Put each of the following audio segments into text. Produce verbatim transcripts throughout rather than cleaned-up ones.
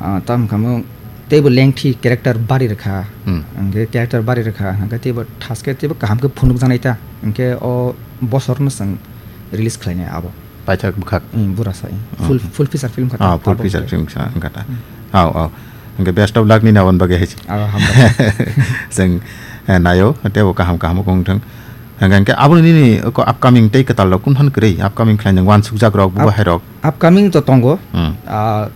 Ah, tam kamo teibo lengthi character bari rwkha. Hmm. Hwnkhe character bari rwkha, hwnkhe teibo thaske teibo kaham khe phunukjaknai ta. Hwnkhe o bosorno chwng release khlainai abo. Paithak bwkhak. Hmm, burasa, hmm. Hmm, full, hmm. Full feature film kha ta, ah, full abo feature khe. Film kha, wngkha ta. Hmm. Au, au. Hwnkhe best of luck nini aboni bagwi hai se. Abo hambai. Chwng, eh, naio, teibo kaham kaham wng thung. Hwnkhe, hwnkhe aboni nini oko upcoming tei kwtal rok kung than kwrwi, upcoming khlai nang uansukjak rok, bubo Up-, hai rok. Upcoming to tongo. Hmm. Ah,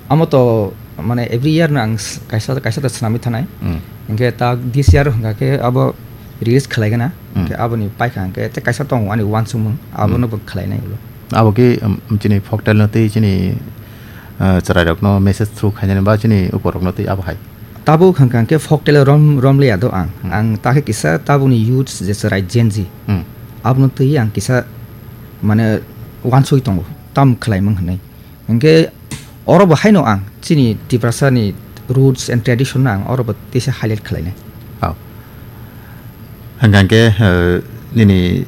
amo to, mane, every year no ang s-, kaisa, kaisa to swnamwi thanai. Hmm. Hwnkhe ta this year hwnkha khe abo release khlai gana. Hmm. Hwnkhe aboni paikha hwnkhe tei kaisa tongo ani uansukmung, abono Hmm. bo khlainai ulo. Abo khe, um, chini folktale no tei chini, uh, chwrai rok no message through khainani ba chini uko rok no tei abo hai. Tabuk hwnkha hwnkhe folktale rom, romliya do ang. Hmm. Ang ta khe kisa tabukni youths je chwrai Gen Z. Hmm. Abono twi ang kisa mane uansugwi tongo, tam khlaimung hwnwi. Hwnkhe oro bo haino ang chini Tiprasani roots and tradition no ang oro bo teisa highlight khlainai. Oh. Hwnkha hwnkhe, eh, nini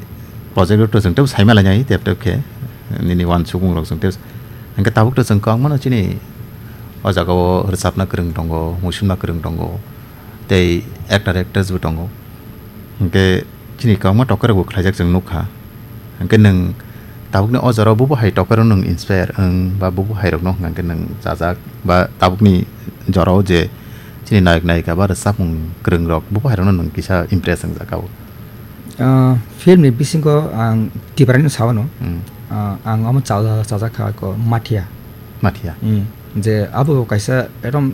project rok to chwng tebo saima lainai tep tep khe, nini uansukmung rok chwng tebo. Hwnkhe tabuk to chwng kok mano chini o jaga o rwchapna kwrwng tongo, muisumna kwrwng tongo, tei actor actress bo tongo. Hwnkhe chini kwbangma tokairokbo khlaijak chwng nukha. Hwnkhe nwng tabukni o jorao bubo hai tokairok nwng inspire wng ba bubo hairokno hwnkha hwnkhe nwng chajak ba tabukni jorao je chini nayok nayika ba rwchapmung kwrwngrok bubo hairokno nwng kisa impress wngjak abo? Ah, filmni bisingo ang Tiprani sawano. Hmm. Ah, ang omo chaja-, chajak kha ko Mathia. Mathia. Hmm. Je abo kaisa ekdom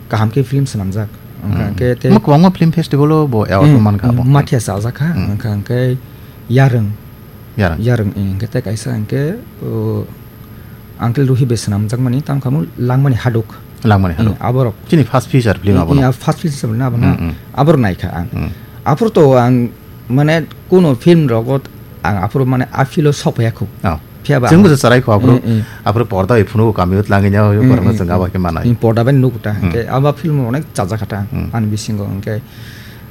kaham khe film swnamjak. Wngkha Hmm. hwnkhe tei Omo kwbangma film festival o bo award Hmm, mankha hmm, abo. Mathia chajak kha, Hmm. wngkha hwnkhe Yarwng. Yarwng. Yarwng, eh, hwnkhe tei kaisa hwnkhe, o, Uncle Ruhi bai swnamjakmani, tamo khe omo Langmani Haduk. Langmani Haduk. Eh, aborok. Chini first feature film Eh, abono. Eh, first feature film abono. Hmm, hmm. Aborok naikha ang. Hmm. Aphuru to ang, mane, kuno film rogo ang aphuru, mane, a feel o sokphaiya khu. Oh. Phiya ba Chwng ang bo se charai khu aphuru. Eh, eh. Aphuru porda bai phunuk kami o tlangwi nya, Eh, borokno eh, chwng eh. Abo khe manai. Eh, porda bai nuk ta. Hmm. Hwnkhe abo film onek chajak kha ta ang. Hmm. Ani bisingo hwnkhe,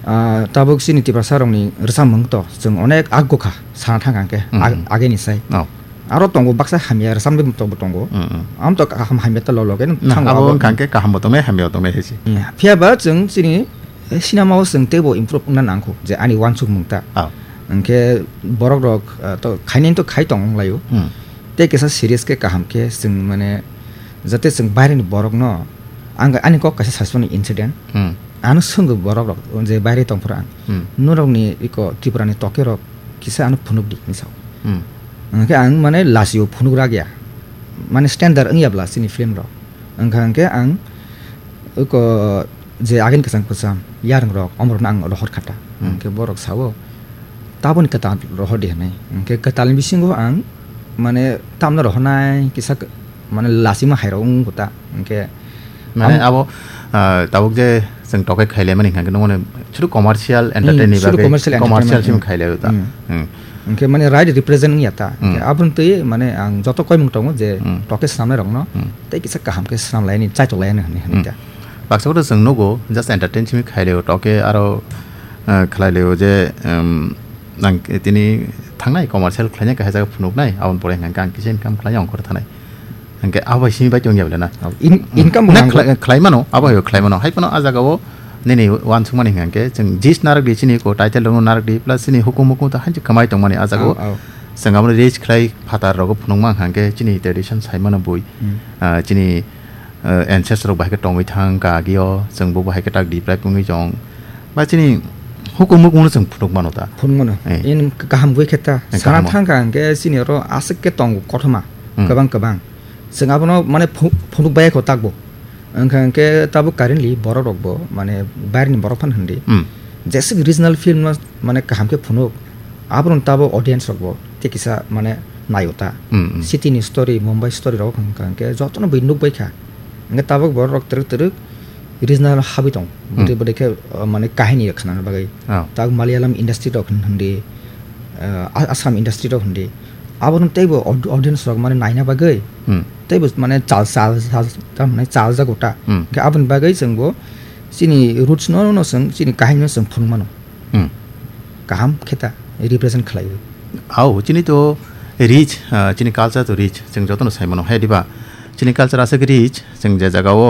ah, tabuk chini Tiprasa rokni rwchapmung to chwng onek agukha sana thang kha hwnkhe Hmm. ag-, ageni sai. Oh. Aro tongo baksa hamya rwchapmung to bo tongo. Hmm, hmm. Am to kaham hamya to lolo khe Na, thango abo abo. Wngkha hwnkhe kaham bo tongnai, hamya bo tongnai hai se. Hmm. Phiya ba chwng chini, eh, cinema o chwng teibo improve wngna nangkho je ani uansukmung ta. Oh. Hwnkhe borok rok, ah, to khainai to khai tong wnglaio. Hmm. Tei kisa serious khe kaham khe chwng mane jate chwng baireni borokno ang ani kok kaisa sasmani incident. Hmm. Ano swngwi borok rok je baire tongphuru ang. Hmm. Norokni iko Tripurani toke rok kisa ano phunuk di hinwi sao. Hmm. Hwnkhe ang mane lasio phunuk rak ya. Mane standard wngya bla chini film rok. Wngkha hwnkhe ang iko je agin kwcham kwcham yarwng rok omorokno ang rohor kha ta. Hmm. Hwnkhe borok sao, "Taboni kwtal rohor di," hwnwi. Hwnkhe kwtalni bisingo ang mane tamno rohornai kisa k-, mane lasima hairok wng kha ta. Hwnkhe Mane ang abo, ah, tabuk je chwng tokai khailaimani hwnkha khe nungmani chwru commercial Hmm, entertain ni chwru bagwi commercial commercial entertainment, simi hmm. Khailaio ta. Hmm. Hmm. Hwnkhe mane right represent wngya ta. Hmm. Hwnkhe aboni twi mane ang joto koimung tongo je Hmm. Tokai swnamnai rokno Hmm. Tei kisa kaham khe swnamlaini, chaitoklaini hwnwi hwnwi Hmm. ta. Baksa kotor chwng nugo, just entertain simi khailaio, toke aro, eh, khlailaio je, em, nang tini thangnai commercial khlaina kahai jaga phunuknai, aboni pore hwnkha khe ang kisa income khlaina ongkhor thanai. Hwnkhe abo bai simi bai tongya bole na. In-, income bo Na nango. Khlai-, khlai mano, abo hai khlai mano. Hai phano a jaga o nini uansukmani hwnkha khe chwng jis narwk di chini ko title rok narwk di plus chini hukum mukum ta hanjik kwmai tongmani a jaga o. Au, au. Chwng abo reach khlai phatar rogo phunukma hwnkha khe chini tradition sai mano bui. Hmm. Ah, chini eh, ancestor rok bahai khe tongwi thang kha agio, chwng bo bahai khe tak diprai pungwi chong. Ba chini hukum mukumu chwng phunuk mano ta. Phunuk mano. Eh. In kaham gwi khe ta. Eh, sana kaham. Thang kha hwnkhe chini oro aswk khe tongo kothoma. Hmm. Kwbang kwbang. Chwng abono mane phu-, phunuk bai kho takbo. Wngkha hwnkhe tabuk currently borok rok bo mane bairni borok phano hwndi. Hmm. Jeswk regional film no mane kaham khe phunuk. Abono tabuk audience rok bo tei kisa mane naio ta. Hmm, hmm. City ni story, Mumbai story rok hwnkha hwnkhe jotono bui nukbai kha. Hwnkhe tabuk borok rok twrwk twrwk regional habwi tong. Hmm. Bwdai bwdai khe, uh, mane kahini khna bagwi. Oh. Tabuk Malayalam industry rok hwn-, hwndi, uh, A-, Assam industry rok hwndi. Abono teibo aud-, audience rok mane naina bagwi. Hmm. Teibo mane chal, chal, chal, tamni chal jago ta. Hmm. Hwnkhe aboni bagwi chwngbo chini roots no, no chwng chini kahini no chwng phunuk mano. Hmm. Kaham khe ta represent khlaiwi. Au, chini to rich, ah, chini culture to rich, chwng jotono sai mano. Hai diba? Chini culture aswk rich, chwng je jaga o